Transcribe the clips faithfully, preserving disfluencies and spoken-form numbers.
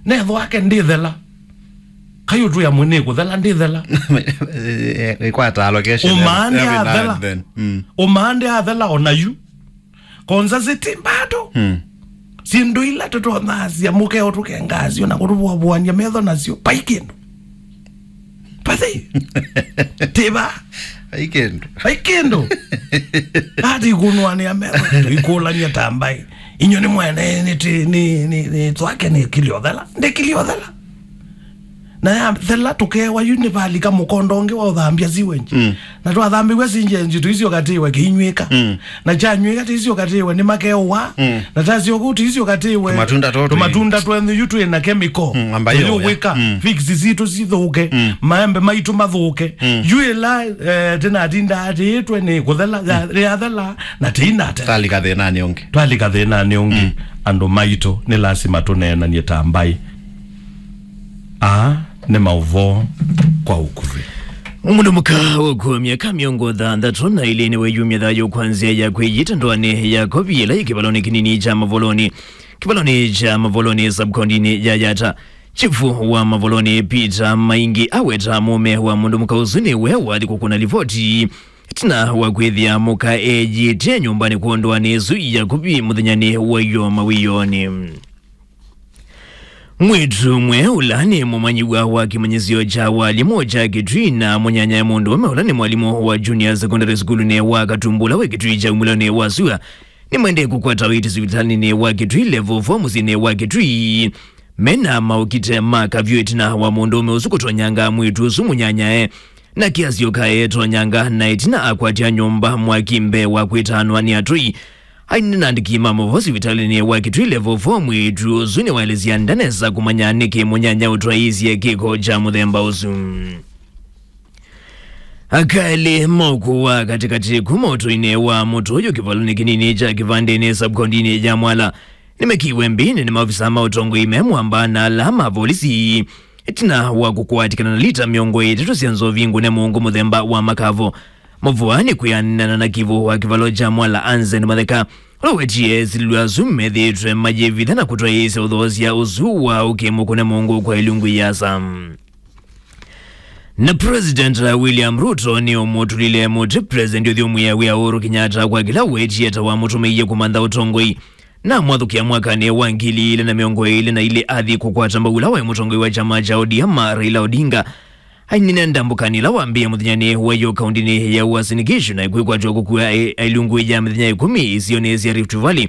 Netho ake ndĩthela. Kayu tu ya mwene kuthela ndĩthela. Ikwata allocation. Ũmaande every now athela. And then. Mm. Ũmaande athela ona yu. Konza ziti bado. Mm. Sindu ila tutonasya mukeo tukengasyo na kutuvuavuania metho nasyo. Pai kindu. Pathi. Tiba. Pai kindu. Pai kindu. Ati kunwania metho. Ikulania tambai. Inyo ni mwene ni ti ni ni ni twake ni kiliothela. Ndi kiliothela. Na ya thela tukewa yu nĩ valika mũkondo ũngĩ wa ũthambia sewage. Mm. Na twathambĩw'a sewage nzito icio katiwe kĩinywĩka. Mm. Na kyanywĩka ti icio katiwe nĩ makeũwa. Mm. Na tasyo kũu ti icio katiwe. Tũmatunda tũtũ tũmatunda twenyu yu twĩ na chemical. Mm, amba yo, tũyũwĩka. Mm. Figs sitũ sithũke. Mm. Maembe maitũ mathũke. Mm. Yu ĩla, eh, tĩnatinda atĩĩtwe nĩ kũthela, ya, yathela na tĩinatela. Twalika thĩnanĩ ũngĩ. Twalika thĩnanĩ ũngĩ. Mm. Andũ maitũ nĩ lasima tũneenanie ta mbaĩ. Aa nĩ maũvoo kwa ũkuvĩ. Mũndũ mũka ũkũa myaka mĩongo thanthatũ na ĩlĩ nĩweyumya thayũ kwa nzĩa ya kwĩyita ndoanĩ ya kovi ĩla yĩ kĩvalonĩ kĩnini kya Mavolonĩ, kĩvalonĩ kya Mavolonĩ, sub-kaũntĩnĩ ya Yatta. Chifu wa Mavolonĩ Peter Maingi aweta mũũme wa mũndũ mũka ũsu nĩwe wathi kũkũna livoti ĩtina wa kwĩthĩa mũka eyĩtye nyũmbanĩ kwa ndoanĩ ĩsu ya kovi mũthenyanĩ wa ĩyoo mawĩoonĩ. Mwĩĩtu ũmwe ũla nĩ mũmanyĩw'a wa kĩmanyĩsyo kya walimũ kya Kitui na mũnyanyae mũndũũme ũla nĩ mwalimũ wa junior secondary school-nĩ wa Katumbu ũla wĩ Kitui kya umĩlonĩ wa sua nĩmaendee kũkwata ũiiti sivitalĩnĩ wa Kitui Level four mũsyĩnĩ wa Kitui, mena maũkite ma kavyũ ĩtina wa mũndũũme ũsu kũtonyanga mwĩĩtu ũsu mũnyanyae na kĩasyo kaetonyanga, na ĩtina akwatya nyũmba mwaki mbee wa kwĩtaanwa nĩ atũi. Ainena na andĩki ma maũvoo sivitalĩnĩ wa Kitui Level four, mwĩĩtu ũsu nĩwaelesya ndanesa kũmanya nĩkĩ mũnyanya ũtwaĩĩsye kĩko kya mũthemba ũsu. Aka elĩ ma ũkũũ wa katĩkatĩ kuma ũtũinĩ wa mũtũyũ kĩvalonĩ kĩnini kya Kĩvandĩnĩ, sub-kaũntĩnĩ ya Mwala, nĩmekiwe mbĩnĩ nĩ maofisa ma ũtongoi me mwamba na ala ma volisi ĩtina wa kũkwatĩkana na lita mĩongo ĩtatũ sya nzovi ngũne mũngũ mũthemba wa makavo. Mavũa nĩ kwĩanana na kĩvũ wa kĩvalo kya Mwala, Anzen Matheka, ũla wetie esilĩlwa asu methĩĩtwe mayĩvitha na kũtwaĩĩsya ũthoosya ũsu wa ũkĩ mũkũne mũngũ kwa ilungu iasa. Na President William Ruto nĩ ũmũtũlile mũtĩ President ũthyũmũĩa wĩa Uhuru Kenyatta kwa kĩla wetie ta wamũtũmĩie kũmantha ũtongoi. Na mwathũkĩa mwakanĩ wa ngili ilĩ na mĩongo ĩlĩ na ilĩ athi kũkwata mbau ũla waĩ mũtongoi wa kyama kya O D M, Raila Odinga. Ainena ndambũkanĩ ĩla wambĩĩe mũthenyanĩ wa ĩyoo kaũntĩnĩ ya Uasin Gishu na ĩkwĩkwatw'a kũkua ĩ-, ilungu ya mĩthenya ĩkũmi isionĩ sya Rift Valley.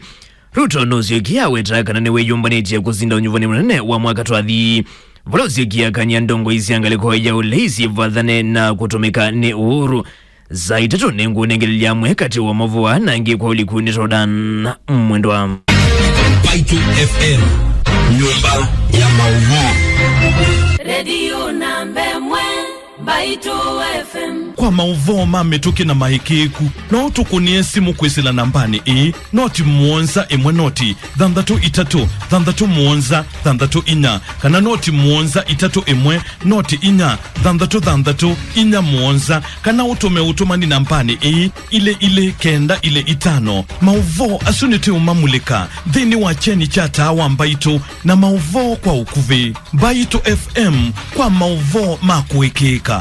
Ruto nũsyokie aweta kana nĩwĩyũmbanĩtye kũsinda ũnyuvani mũnene wa mwaka twathi, vala ũsyokie akany'a ndongoi sya ngalĩko ya ũlei sivathane na kũtũmĩka nĩ Uhuru. Saa itatũ nĩngũnengelelya amwe katĩ wa mavũa na angĩ kwa ũliku nĩ Jordan Mwendwa. Mbaitũ F M, nyũmba ya maũvoo. Redio namba ĩmwe, Mbaitũ F M. Kwa maũvoo ma mĩtũkĩ na maĩkĩĩku, no ũtũkũnĩe simũ kwĩsĩla nambanĩ ĩĩ, noti mũonza ĩmwe noti thanthatũ itatũ thanthatũ mũonza thanthatũ inya, kana noti mũonza itatũ ĩmwe noti inya thanthatũ thanthatũ inya mũonza, kana ũtũme ũtũmani nambanĩ ĩĩ, ilĩ ilĩ kenda ilĩ itano. Maũvoo asu nĩtũũmamulĩka nthĩnĩ wa kyeni kya taa wa Mbaitũ na maũvoo kwa ũkuvĩ. Mbaitũ F M kwa maũvoo ma kũĩkĩĩka.